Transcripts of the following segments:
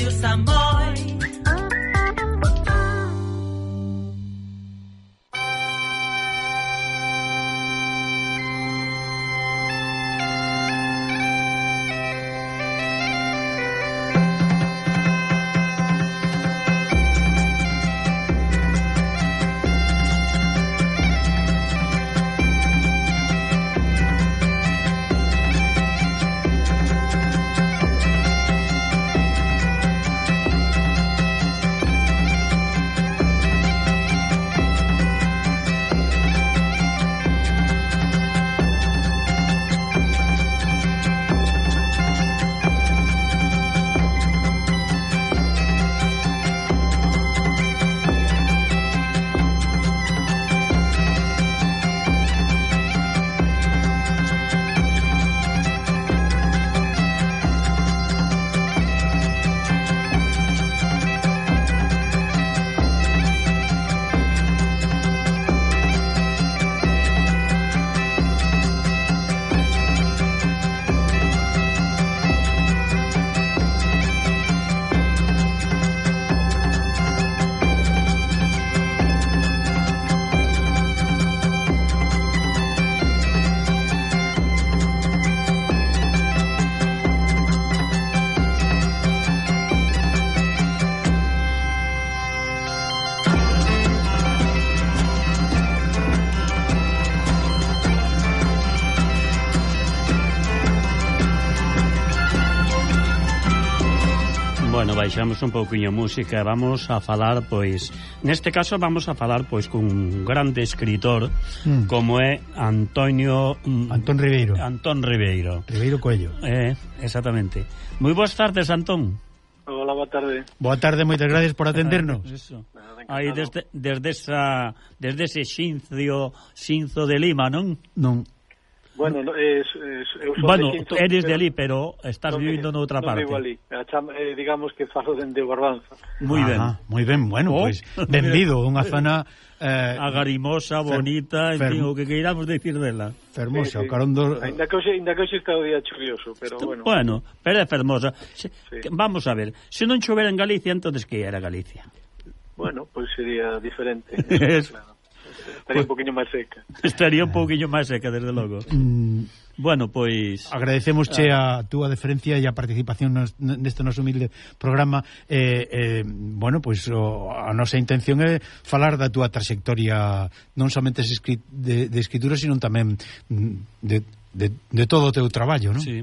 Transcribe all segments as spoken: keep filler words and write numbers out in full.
Radio Samboy. Bueno, baixamos un pouquiño música, vamos a falar, pois, neste caso vamos a falar, pois, cun grande escritor mm. como é Antonio... Mm, Antón Ribeiro. Antón Ribeiro. Ribeiro Coello. Eh, exactamente. Moi boas tardes, Antón. Hola, boa tarde. Boa tarde, moitas gracias por atendernos. Eso. Aí desde, desde, esa, desde ese xincio, xinzo de Lima, non? Non. Bueno, es, es, eu son bueno, de Xinzo, eres de ali, pero estás non vivindo me, noutra non parte. vivo ali. Eh, digamos que falo dende Barbanza. Moi ben. Moi ben, bueno, oh, pois pues, benvido, unha zona eh, agarimosa, bonita, en fin, o que queiramos decir dela. Fermosa, sí, sí. o carón do... Ainda que hoxe, ainda que hoxe está o día chuvioso, pero bueno. Bueno, pero é fermosa. Se, sí. Vamos a ver, se non chovera en Galicia, entonces que era Galicia? Bueno, pois pues sería diferente. Eso, claro. Estaría pues, un poquinho máis seca. Estaría un poquinho máis seca, desde logo. Mm, bueno, pois... Agradecemosche ah. a túa deferencia e a participación nos, neste noso humilde programa. Eh, eh, bueno, pois o, a nosa intención é falar da túa trayectoria non somente de, de escritura, sino tamén de, de, de todo o teu traballo, non? Sí.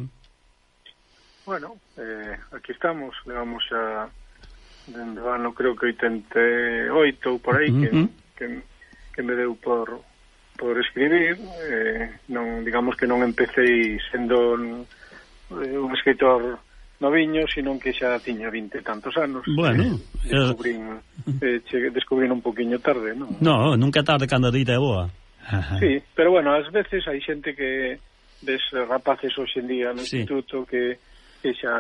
Bueno, eh, aquí estamos, levamos xa dende o ano, creo que oitenta e oito ou por aí, uh-huh. que... que que me deu por por escribir, eh, non digamos que non empecé sendo un, un escritor noviño, sino que xa tiña vinte e tantos anos. Bueno, eh, descubrín, eh, che, descubrín un poquinho tarde, non? No, nunca tarde cando a dita é boa. Ajá. Sí, pero bueno, ás veces hai xente que ves rapaces hoxe en día no sí. instituto que, que xa,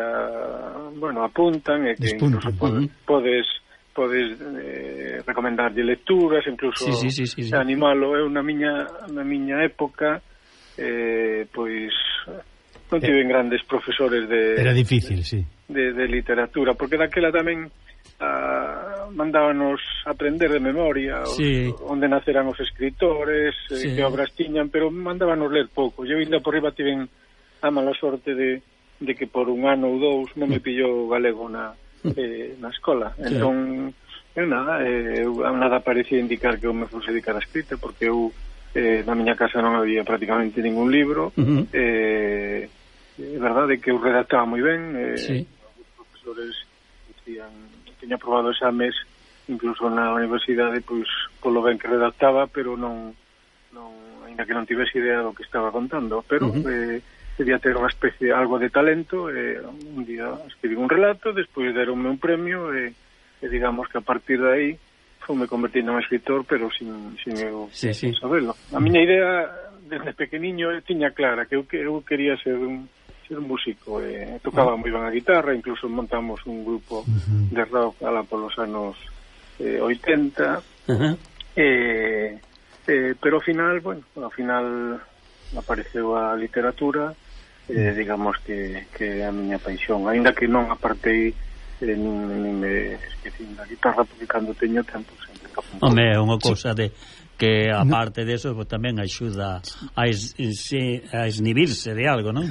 bueno, apuntan e que Despunta. incluso podes, podes podes eh, recomendarlle lecturas, incluso sí, sí, sí, sí, sí. animalo. Eu na miña na miña época eh, pois non tiven eh, grandes profesores de era difícil, sí. de, de literatura, porque daquela tamén ah, mandábanos aprender de memoria sí. os, onde naceran os escritores, sí. eh, que obras tiñan, pero mandábanos ler pouco. Eu ainda por riba tiven a mala sorte de, de que por un ano ou dous non me pillou galego na Eh, na escola, sí. Entón eu nada, eh, eu, nada parecía indicar que eu me fose dedicar a escrita, porque eu eh, na miña casa non había prácticamente ningún libro. uh-huh. eh, é verdade que eu redactaba moi ben, eh, sí. Os profesores dicían, tiña aprobado exames incluso na universidade, pois polo ben que redactaba, pero non, non ainda que non tivese idea do que estaba contando, pero uh-huh. eh, debía ter unha especie, algo de talento. eh, un día escribí un relato, despois deronme un premio e, e digamos que a partir de aí fome convertindo en escritor, pero sin, sin eu sí, sí. saberlo. A miña idea desde pequeniño eu tiña clara que eu, que eu quería ser un, ser un músico, e tocaba moi ben a guitarra, incluso montamos un grupo uh-huh. de rock alá polos anos eh, oitenta, uh-huh. eh, eh, pero ao final, bueno, ao final apareceu a literatura. Eh, digamos que, que a miña paixón, aínda que non apartei eh, nin, nin me esquecín da guitarra, porque cando teño tempo sempre toco. Home, é unha cousa de que aparte de eso pues, tamén axuda a, es, a esnibirse de algo, non?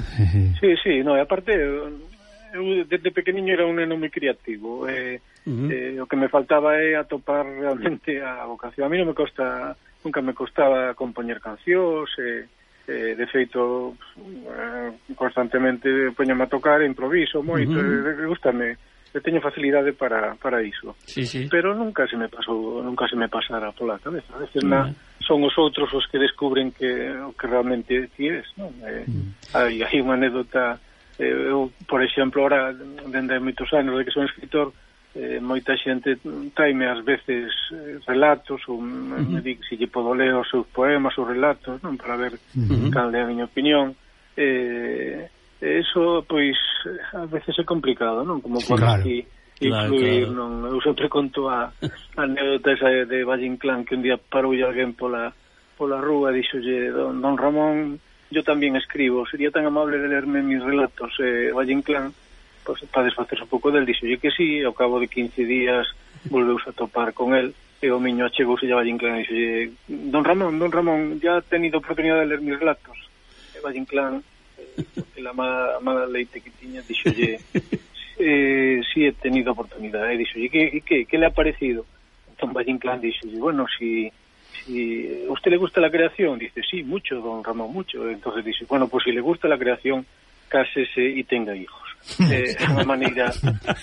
Sí, sí, no, e aparte eu desde pequeniño era un neno moi creativo, eh, uh-huh. eh, o que me faltaba é atopar realmente a vocación. A mí non me costa, nunca me costaba compoñer cancións, eh, eh, de feito eh, constantemente poñome a tocar, improviso moito, uh-huh. eh, gustame. Eu teño facilidade para, para iso, sí, sí. Pero nunca se me pasou, nunca se me pasara pola cabeza. A veces na, son os outros os que descubren que o que realmente ti es, non? Eh, mm. hai, hai unha anécdota, eh, eu, por exemplo, ahora, dende moitos anos de que son escritor, eh, moita xente traime ás veces eh, relatos, ou mm-hmm. me di se lle podo ler os seus poemas ou relatos, non? Para ver mm-hmm. cal é a miña opinión. Eh... Eso, pois, a veces é complicado, non? Como por claro. aquí influir, claro, claro. non? Eu sempre conto a, a anécdota esa de Valle Inclán, que un día parou alguén pola, pola rúa e dixolle, don, don Ramón, yo tamén escribo, sería tan amable de lerme mis relatos. Eh, Valle Inclán, pues, para desfacerse un pouco del, dixolle que sí, e ao cabo de quince días volveuse a topar con el, e o miño achegouse a Valle Inclán e dixolle, don Ramón, don Ramón, ya ha tenido oportunidade de ler mis relatos. E Valle Inclán, la mala, mala leite que tiña, dixolle eh, si he tenido oportunidade, dixolle, que, que, que le ha parecido? Entón Valle Inclán dixolle, bueno, si, si a usted le gusta la creación, dice, sí, mucho, don Ramón, mucho. Entonces dice, bueno, pues si le gusta la creación, cásese y tenga hijos. É eh, unha maneira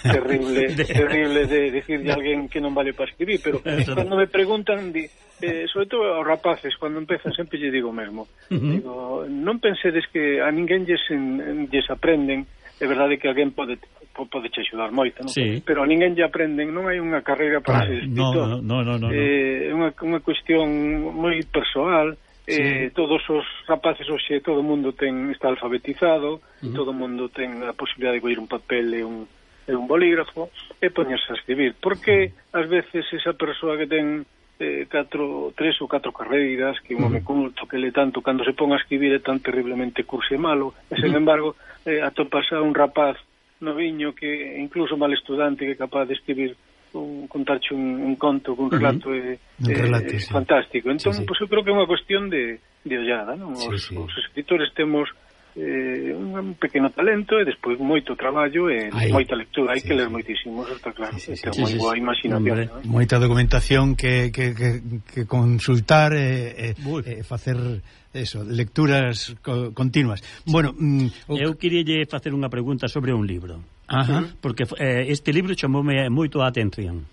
terrible terrible de decirle a alguén que non vale para escribir, pero cando me preguntan di, eh, sobre todo aos rapaces, cando empezan sempre lle digo mesmo, uh-huh. digo, non pensedes que a ninguén lles, en, lles aprenden, é verdade que alguén pode pode che axudar moito, non? Sí. Pero a ninguén lle aprenden, non hai unha carreira para claro, ser escritor. No, no, no, no, no. Eh, é unha, unha cuestión moi persoal. Eh, sí. Todos os rapaces hoxe, todo o mundo ten, está alfabetizado, uh-huh. todo o mundo ten a posibilidade de coller un papel e un, e un bolígrafo e poñerse a escribir, porque ás veces esa persoa que ten eh, catro, tres ou catro carreiras, que un home uh-huh. culto, que le tanto, cando se pon a escribir é tan terriblemente cursi e malo, e sen uh-huh. embargo eh, atopas a un rapaz noviño que incluso mal estudante que é capaz de escribir un, contarche un, un conto, un relato, uh-huh. eh, un relato eh, sí. fantástico. Entón, sí, sí. Pues eu creo que é unha cuestión de, de ollada, non? Os, sí, sí. os escritores temos eh, un pequeno talento e despois moito traballo e Ay, moita lectura, hai sí, que ler sí. moitísimo, eso está claro, sí, sí, sí, moi sí, boa sí. imaginación, ¿no? Moita documentación que, que, que, que consultar e eh, eh, facer eso, lecturas co continuas. Bueno, mm, eu queríalle facer unha pregunta sobre un libro. Ajá. Porque eh, este libro chamoume moito a atención.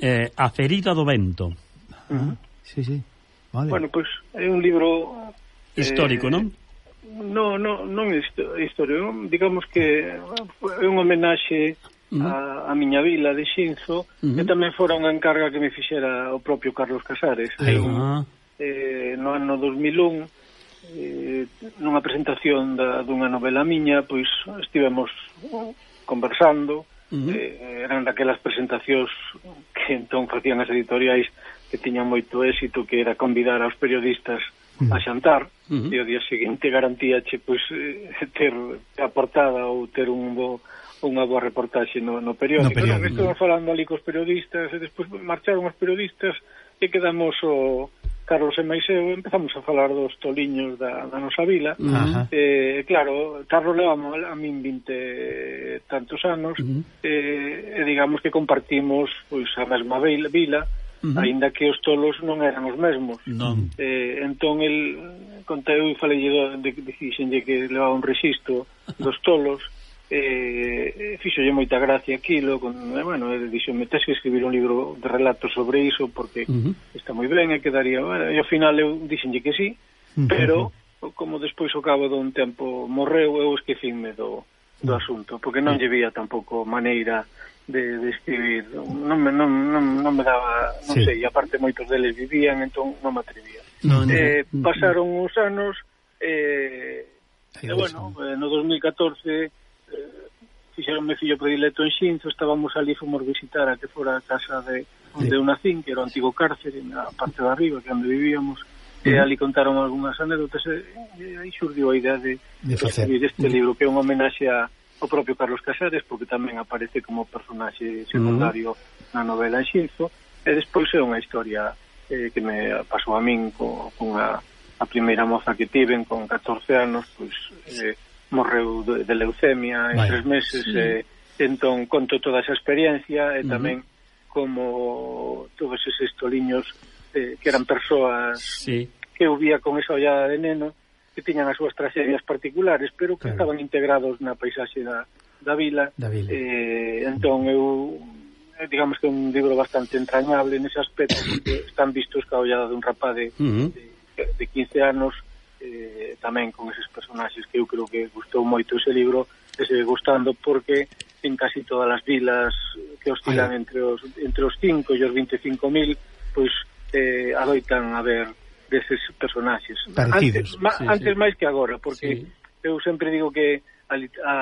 Eh, A ferida do vento. Uh-huh. Sí, sí. Vale. Bueno, pois pues, é un libro histórico, eh, non? No, no, non é histórico, digamos que é un homenaxe uh-huh. a, a miña vila de Xinzo, uh-huh. que tamén fora unha encarga que me fixera o propio Carlos Casares. Uh-huh. eh, no ano dos mil un, eh, nunha presentación da, dunha novela miña, pois estivemos conversando, uh-huh. eh, eran daquelas presentacións que entón facían as editoriais que tiñan moito éxito, que era convidar aos periodistas uh-huh. a xantar, uh-huh. e o día seguinte garantíache pois, eh, ter a portada ou ter un bo, unha boa reportaxe no, no periódico. No periódico. No, estamos falando ali cos periodistas, e despois marcharon os periodistas e quedamos o Carlos e máis eu, empezamos a falar dos toliños da, da nosa vila. Uh-huh. eh, claro, Carlos levamos a min vinte tantos anos, uh-huh. eh, e digamos que compartimos pois a mesma vila, vila uh-huh. aínda que os tolos non eran os mesmos. Non. Eh, entón, el contei e falei de que dixenlle que levaba un rexistro dos tolos, eh, fixolle moita gracia aquilo, con, eh, bueno, ele dixome, tes que escribir un libro de relatos sobre iso porque uh-huh. está moi ben e quedaría, bueno, e ao final eu dixenlle que sí, uh-huh. pero como despois ao cabo dun tempo morreu, eu esquecínme do, do asunto, porque non lle vía tampouco maneira de, de escribir, non me, non, non, non me daba, non sí. sei, aparte moitos deles vivían, entón non me atrevía. No, no, eh, no. Pasaron uns anos, eh, e bueno, eh, no dos mil catorce eh, fixeron me fillo predilecto en Xinzo, estábamos ali, fomos visitar a que fora a casa de onde eu nacín, que era o antigo cárcere na parte de arriba, que onde vivíamos, e ali contaron algunhas anécdotas, e aí xurdiu a idea de, de escribir este libro, que é un homenaxe a, o propio Carlos Casares, porque tamén aparece como personaxe secundario uh-huh. na novela Xinzo, e despois é unha historia eh, que me pasou a min con, con a, a primeira moza que tiven con catorce anos, pois eh, morreu de, de leucemia en Vaya. tres meses, sí. e entón conto toda esa experiencia e uh-huh. tamén como todos eses toliños eh, que eran persoas sí. que eu vía con esa ollada de neno, que tiñan as súas tragedias particulares, pero que claro. estaban integrados na paisaxe da, da vila. Da vila. Eh, entón eu digamos que é un libro bastante entrañable nese aspecto, porque están vistos ca ollada dun rapaz de, uh-huh. de, de quince anos, eh, tamén con eses personaxes que eu creo que gustou moito ese libro, e segue gustando porque en casi todas as vilas que oscilan Ay. entre os entre os cinco e os veinticinco mil, pois eh, adoitan a ver deses personaxes. Parecidos. Antes, ma, sí, antes sí. máis que agora, porque sí. eu sempre digo que a, a,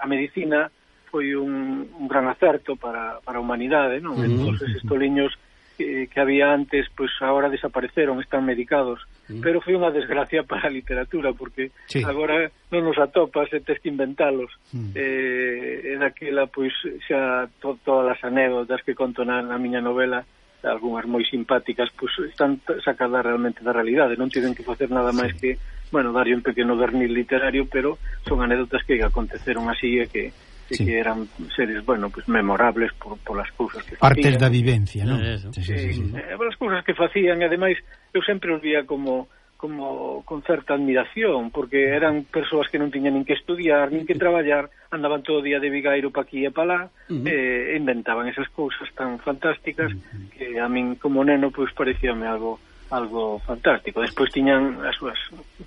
a medicina foi un, un gran acerto para, para a humanidade, non? Uh-huh. Todos eses toliños que, que había antes, pois agora desapareceron, están medicados, uh-huh. pero foi unha desgracia para a literatura, porque sí. agora non nos atopas e tes que inventalos. Uh-huh. Eh, e daquela, pois, xa to, todas as anécdotas que conto na, na miña novela, algunhas moi simpáticas, pois están sacadas realmente da realidade, non tiven que facer nada máis sí. que, bueno, darlle un pequeno verniz literario, pero son anécdotas que aconteceron así e que e sí. que eran seres, bueno, pues memorables por, por las cousas que facían. Partes da vivencia, non? Sí, sí, sí, sí. Eh, por as cousas que facían, e ademais eu sempre os vía como como con certa admiración, porque eran persoas que non tiñan nin que estudiar, nin que traballar, andaban todo o día de vigairo pa aquí e pa lá, uh-huh. e inventaban esas cousas tan fantásticas uh-huh. que a min como neno pois parecíame algo algo fantástico. Despois tiñan as súas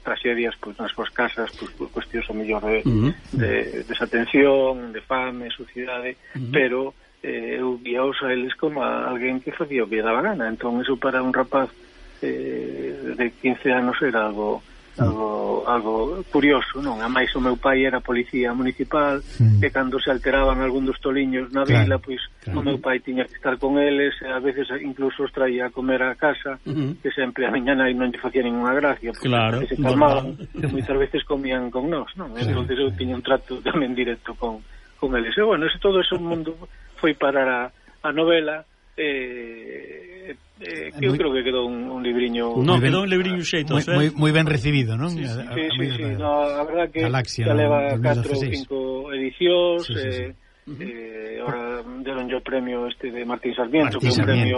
tragedias pois nas súas casas, pois por cuestións a mellor de, uh-huh. de desatención, de fame, sucidade, uh-huh. pero eh, eu guiaos a eles como a alguén que facía o que daba gana. Entón, eso para un rapaz eh, de quince anos era algo algo algo curioso, non? A máis o meu pai era policía municipal, mm. e cando se alteraban algún dos toliños na claro, vila, pois claro. o meu pai tiña que estar con eles, e a veces incluso os traía a comer a casa, mm-hmm. que sempre a miña nai non lle facía ninguna gracia, porque claro, se calmaban, moitas veces comían con nós, non? Claro. Entón eu tiña un trato tamén directo con, con eles. E bueno, ese, todo ese mundo foi parar a, a novela, eh, eh, que eu creo que quedou un, un libriño no, quedou un libriño xeito, moi, eh? moi, moi ben recibido, non? Sí, sí, a, a, sí, sí, sí. Da, No, a verdad que Galaxia, xa leva no, catro ou cinco edicións, sí, sí, sí. eh, uh-huh. eh, ahora deron yo o premio este de Martín Sarmiento, Martín que é un Sarmiento. premio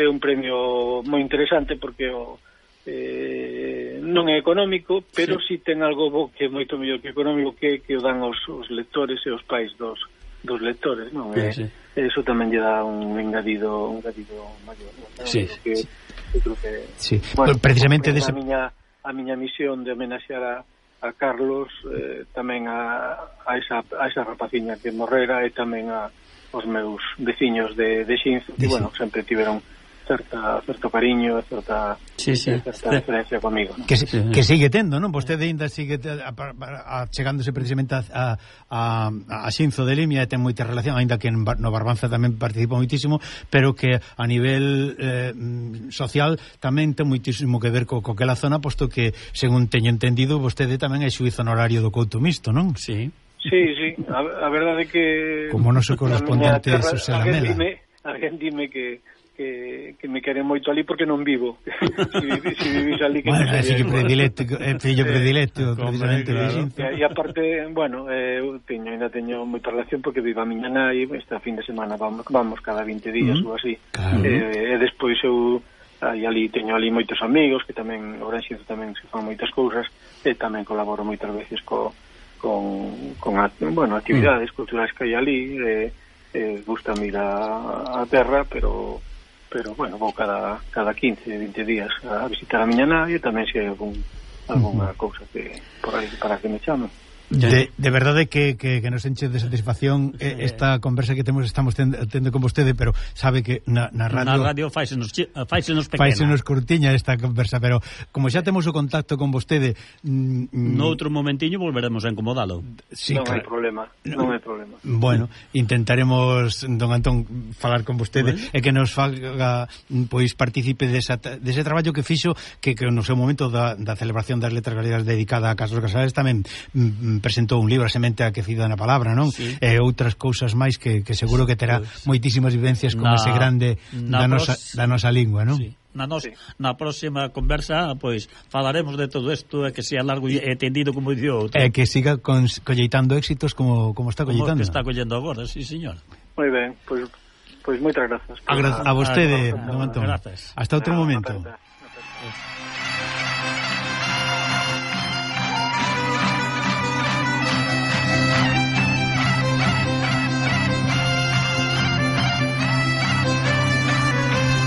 é un premio moi interesante porque o eh, non é económico, pero si sí. sí ten algo bo que é moito mellor que económico, que que o dan os, os lectores e os pais dos dos lectores, non? Sí, sí. E eso tamén lle dá un engadido, un engadido maior, non? Sí, que, sí. Eu creo que sí. Bueno, precisamente a dese... miña a miña misión de homenaxear a, a Carlos, eh, tamén a, a esa a esa rapaciña que morrera, e tamén a os meus veciños de de Xinzo, que bueno, sempre tiveron certa certo cariño, certa sí, sí. certa referencia comigo, ¿no? Que, sí. que sigue tendo, non? Vostede ainda sigue a, a, a, chegándose precisamente a, a, a Xinzo de Limia, e ten moita relación, ainda que no Barbanza tamén participa moitísimo, pero que a nivel eh, social tamén ten moitísimo que ver co, co aquela zona, posto que, según teño entendido, vostede tamén é xuíz honorario do Couto Misto, non? Sí. Sí, sí, a, a verdade que como noso correspondente Xosé Lamela. Alguén dime que que, que me queren moito ali porque non vivo. Si, si vivís ali que bueno, non é fillo predilecto, é fillo predilecto, eh, precisamente claro. E, e aparte, bueno, eh, eu teño, ainda teño moita relación porque viva a miña nai, esta fin de semana vamos, vamos cada vinte días mm. ou así. Claro. Eh, e despois eu aí ali teño ali moitos amigos que tamén, o Gran Xinzo tamén se fan moitas cousas, e tamén colaboro moitas veces co, con, con a, bueno, actividades mm. culturais que hai ali, e eh, gusta ir a, a terra, pero pero, bueno, vou cada, cada quince, vinte días a visitar a miña nai, e tamén se hai algún, alguna uh-huh. cousa que por aí para que me chamen. De, de verdade que, que, que nos enche de satisfacción sí. esta conversa que temos estamos tendo, tendo con vostede, pero sabe que na, na radio na radio faisenos, faisenos pequena, faisenos curtiña esta conversa, pero como xa temos o contacto con vostede, mm, no outro momentiño volveremos a incomodalo. Sí, non claro. hai problema, non hai problema. Bueno, intentaremos, don Antón, falar con vostede bueno. e que nos faga, pois participe desa, dese traballo que fixo, que, que no seu momento da, da celebración das letras galegas dedicada a Carlos Casares tamén mm, presentou un libro, A semente aquecida na palabra, non? Sí. E outras cousas máis que, que seguro que terá pues, moitísimas vivencias con na, ese grande da nosa, da nosa lingua, non? Sí. Na, nos, sí. na próxima conversa pois falaremos de todo isto e que sea largo e tendido como dice outro. E que siga con, colleitando éxitos como, como está colleitando. Como que está collendo agora, sí, señor. Moi ben, pois, pois moitas grazas. A, a vostede, don Antón. Hasta outro momento.